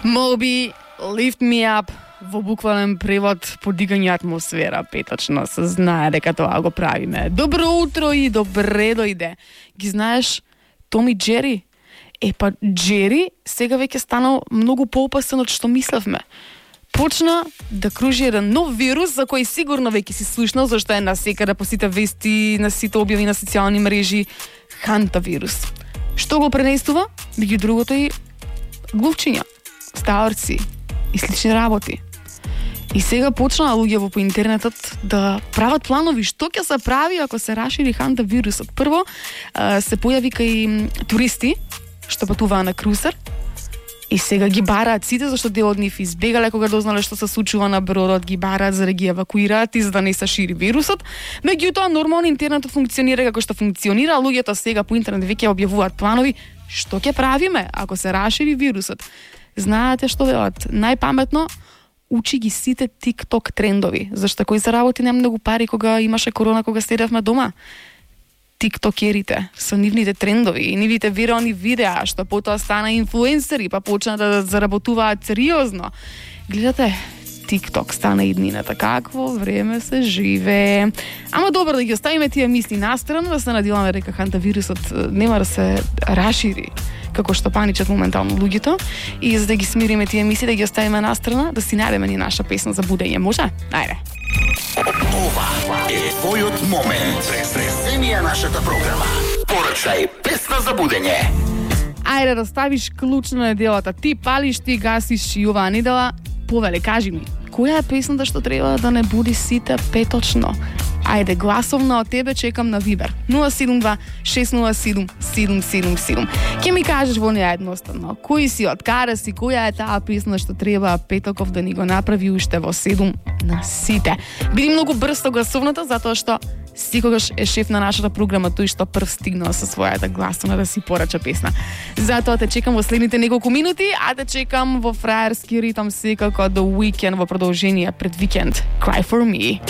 Moby, Lift Me Up, во буквален превод подигање атмосфера, петочно се знае дека тоа го правиме. Добро утро и добре дојде. Ги знаеш Том и Джери? Па Джери сега веќе станал многу поопасен од што мислевме. Почна да кружи еден нов вирус за кој сигурно веќе си слушнал, зашто е насекаде по сите вести, на сите објави на социјални мрежи. Хантавирус. Што го пренесува? Меѓу другото и глувчиња, стаорци и слични работи. И сега почнаа луѓе по интернетот да прават планови што ќе се прави ако се расшири хантавирусот. Прво се појави кај туристи што патуваа на крузер и сега ги бараат сите, зашто дел од нив избегале кога дознале што се случува на бродот, ги бараат за да ги евакуираат и за да не се шири вирусот. Меѓутоа нормално интернетот функционира како што функционира, луѓето сега по интернет веќе објавуваат планови што ќе правиме ако се расшири вирусот. Знаете што велат? Најпаметно учи ги сите TikTok трендови, зашто кој заработи немногу пари кога имаше корона, кога седевме дома. Тиктокерите со нивните трендови и нивните вирални видеа, што потоа стана инфлуенсери, па почна да заработуваат сериозно. Гледате, TikTok стана иднината. Какво време се живее. Ама добро да ги оставиме тие мисли настрана, да се надеваме дека хантавирусот нема да се расшири како што паничат моментално луѓето, и за да ги смириме тие мисли, да ги оставиме настрана, да си најдеме ни наша песна за будење. Може? Ајде. Ова е твојот момент. Презенија нашата програма. Порачај песна за будење. Ајде да ставиш клуч на неделата. Ти палиш, ти гасиш и оваа недела. Повеле, кажи ми, која е песната што треба да не буди сите петочно? Ајде, гласовна од тебе чекам на Вибер. 072-607-777. Ке ми кажеш во неја едноставно, кој си, од каде си, која е таа песна што треба Петоков да ни го направи уште во 7 на сите. Биди многу брз со гласовната, затоа што секогаш е шеф на нашата програма тој што прв стигнал со својата гласовна да си порача песна. Затоа те чекам во следните неколку минути, а те чекам во фраерски ритам секако The Weeknd во продолжение пред викенд. Cry for me.